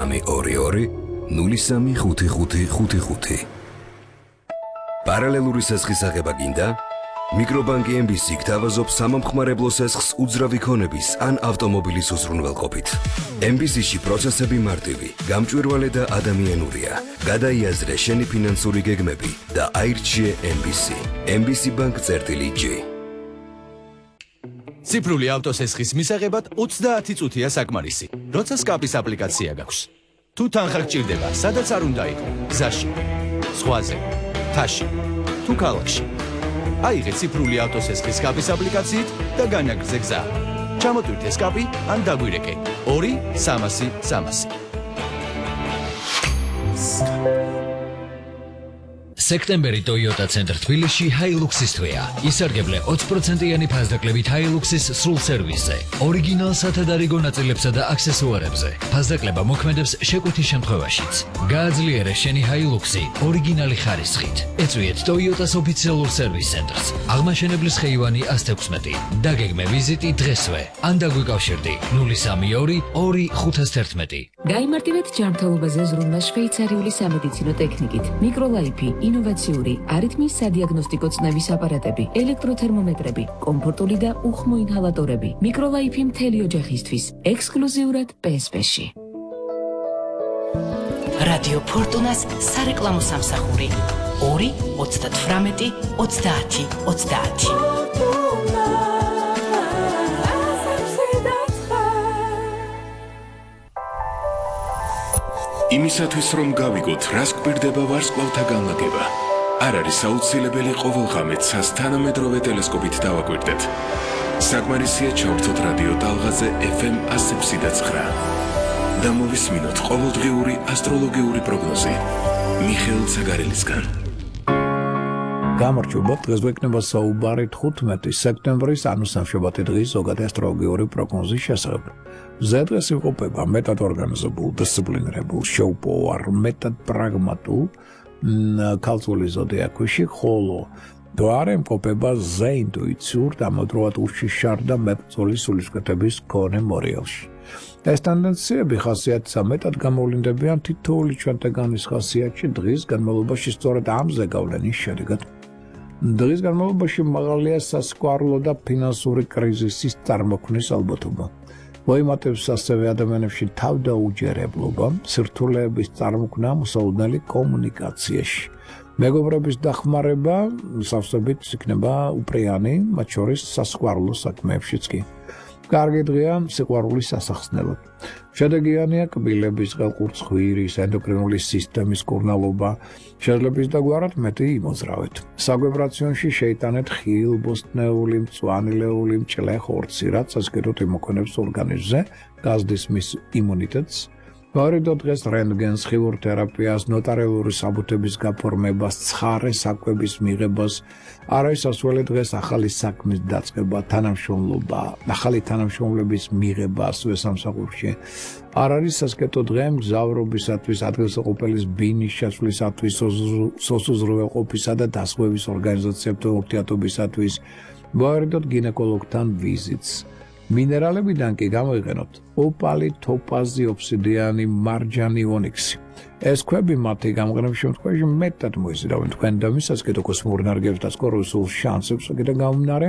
035555. Პარალელური სესხის აღება გინდა? მიკრობანკი MBC გთავაზობს სამომხმარებლო სესხს უძრავი ქონების ან ავტომობილის უზრუნველყოფით. MBC-ში პროცესები მარტივი, გამჭვირვალე და ადამიანურია. გადაიაზრე შენი ფინანსური გეგმები და აირჩიე MBC. MBC Bank-J. ციფრული ავტოსესხის მისაღებად 30 წუთია საკმარისი, როცა სკაპის აპლიკაცია გაქვს. თუ თანხა გჭირდება, სადაც არ უნდა იყო, გზაში, ზღვაზე, მთაში, თუ ქალაქში. აიღე ციფრული ავტოსესხის სკაპის აპლიკაციით და განაგრძე გზა. ჩამოტვირთე სკაპი ან დაგვირეკე 2-300-300. სექტემბერი Toyota Center თბილისში Hilux-ის თვეა. ისარგებლე 20%-იანი ფასდაკლებით Hilux-ის სრულ სერვისზე, ორიგინალ სათადარიგო ნაწილებსა და აქსესუარებზე. ფასდაკლება მოქმედებს შეკვეთის შემთხვევაშიც. გააძლიერე შენი Hilux-ი ორიგინალი ხარისხით. ეწვიეთ Toyota-s ოფიციალურ სერვის ცენტრს. აღმაშენებლის ხეივანი 116. დაგეგმე ვიზიტი დღესვე. ან დაგვიკავშირდი 032 2511. გაიმარტივეთ ჯანმრთელობაზე ზრუნვა შვეიცარიული სამედიცინო ტექნიკით. მიკროლაიფი ინოვაციური არითმის სადიაგნოსტიკო წნევის აპარატები, ელექტროთერმომეტრები, კომფორტული და უხმო ინჰალატორები. მიკროლაიფი მთელი ოჯახისთვის, ექსკლუზიურად PSP-ში. რადიო ფორტუნას სარეკლამო სამსახური 2-38-30-30. იმისათვის რომ გავიგოთ, რას გვირდება ვარსკვლავთა განლაგება, არ არის აუცილებელი ყოველღამე ცას თანამედროვე ტელესკოპით დავაკვირდეთ. საკმარისია ჩავრთოთ რადიო ტალღაზე FM 107.9 და მოვისმინოთ ყოველდღიური ასტროლოგიური პროგნოზი მიხეილ ცაგარელისგან. გამარჯობა, დღეს გვექნება საუბარი 15 სექტემბრის, ანუ სამშაბათი დღის ზოგადი ასტროლოგიური პროგნოზის შესახებ. ზედღეს იყოფება მეტად ორგანიზებულ, დისციპლინირებულ, შეუპოვარ, მეტად პრაგმატულ ქალწული ზოდიაქოში, ხოლო დვარე იმყოფება ზეინტუიციურ და ამავდროულად უშიშარ და მებრძოლი სულისკვეთების მქონე მორიელში. ეს ტენდენციები ხასიათსა მეტად გამოვლინდებიან თითოეული ჩვენთაგანის ხასიათში დღის განმავლობაში სწორედ ამ ზეგავლენის შედეგად. დღის განმავლობაში მაღალია სასიყვარულო და ფინანსური კრიზისის წარმოქმნის ალბათობა. მოიმატებს ასევე ადამიანებში თავდაუჯერებლობა, სირთულეების წარმოქმნა მოსაუდნელი კომუნიკაციაში. მეგობრების დახმარება სავსებით იქნება უპრიანი, მათ შორის სასიყვარულო საქმეებშიც კი. კარგი დღეა სიყვარულის სასახსნელად. შედეგიანია კბილების, ყელყურცხვირის, ენდოკრინული სისტემის კურნალობა, შეძლებს დაგვარად მეტი იმოძრავეთ. საგვიბრაციონში შეიტანეთ ხილბოსტნეული, მწვანილეული, მჭლე ხორცი, რაც ასკეროთ იმოქმედებს ორგანიზმზე, გაზრდის მის იმუნიტეტს. ვარიდო დღეს რენტგენს, ხილურთერაპიას, ნოტარიული საბუთების გაფორმებას, ცხარე საკვების მიღებას, არის ასველი დღეს ახალი საქმის დაწყება, თანამშრომლობა, ახალი თანამშრომლების მიღება ასევე სამსახურში. არ არის სასკეტო დღე მგზავრობისათვის, ადგილსაყოფელის ბინის შეცვლისათვის, სოციალურყოფისა და დასხმების ორგანიზაციებთან ურთიერთობისათვის, ვარიდოთ გინეკოლოგთან ვიზიტს. მინერალებიდან კი გამოიყენოთ ოპალი, თოპაზი, ობსიდიანი, მარჯანი, ონიქსი. ეს ქვები მათი გამყრენის შემთხვევაში მეტად მოიზიდავენ თქვენ და მისასკედო კოსმურ ენერგიებს და სკოროსულ შანსებს კიდე გამომდინარე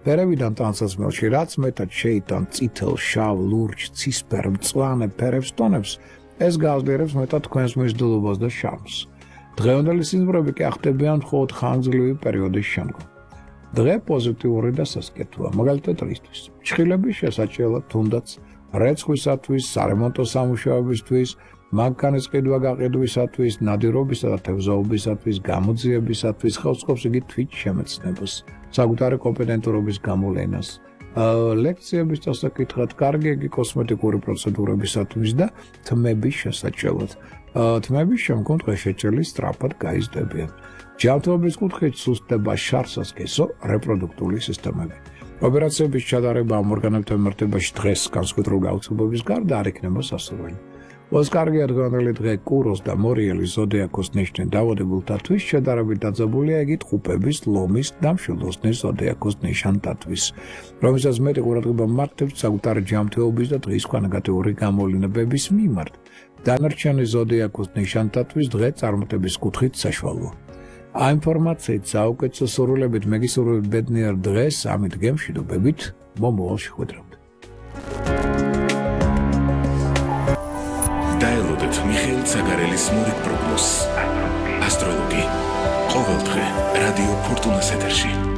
ფერებიდან ტანსაცმელში, რაც მეტად შეიტან წითელ, შავ, ლურჯ, ცისფერ, მწვანე ფერებს ტონებს, ეს გააძლიერებს მეტად თქვენს მიზიდულობას და შარმს. დღევანდელი სიზმრები კი ახდებიან მხოლოდ ხანგრძლივი პერიოდის შემდგომ. დღე პოზიტიური და სასკეთოა, მაგალითად რისთვის. ჩხილების შესაჭრელად თუნდაც რეცხვისათვის, სარემონტო სამუშაოებისთვის, მანქანის ყიდვა-გაყიდვისათვის, ნადირობისა და თევზაობისათვის, გამოძიებისათვის, ხელსწყობს იგი თვით შემეცნებას, საკუთარი კომპეტენტურობის გამოვლენას, ლექციების დასაკითხად, კარგი იგი კოსმეტიკური პროცედურებისათვის და თმების შესაჭრელად. თმების შემდგომ დღეშეჭრილი სწრაფად გაიზრდებიან. ჯანმრთელობის კუთხით სუსტდება შარსასკესო რეპროდუქტიული სისტემები. ოპერაციების ჩატარება ამ ორგანოებთან მიმართებაში დღეს განსხვავებული გაუცილებლობის გარდა არ იქნება სასურველი. Os კარგი ადგილობრივი დღე კუროს და მორიელის ზოდიაქოს ნიშნით დაავადებულთათვის შედარებით დაძაბულია იგი ტყუპების, ლომის და მშვილდოსნის ზოდიაქოს ნიშანთათვის, რომელსაც მეტი ყურადღება მართებს საკუთარი ჯანმრთელობის და დღის ქვანაგატიური გამოვლენების მიმართ. დანარჩენი ზოდიაქოს ნიშანთათვის დღე წარმატების კუთხით საშუალოა. Ამ ინფორმაციით საუკეთესო სურვილებით მეგისურვებთ ბედნიერ დღეს, ამით გემშვიდობებით, მომავალ შეხვედრამდე. დაელოდეთ მიხეილ ცაგარელის მორიგ პროგნოზს. ასტროლოგი. ყოველდღე რადიო ფორტუნას ეთერში.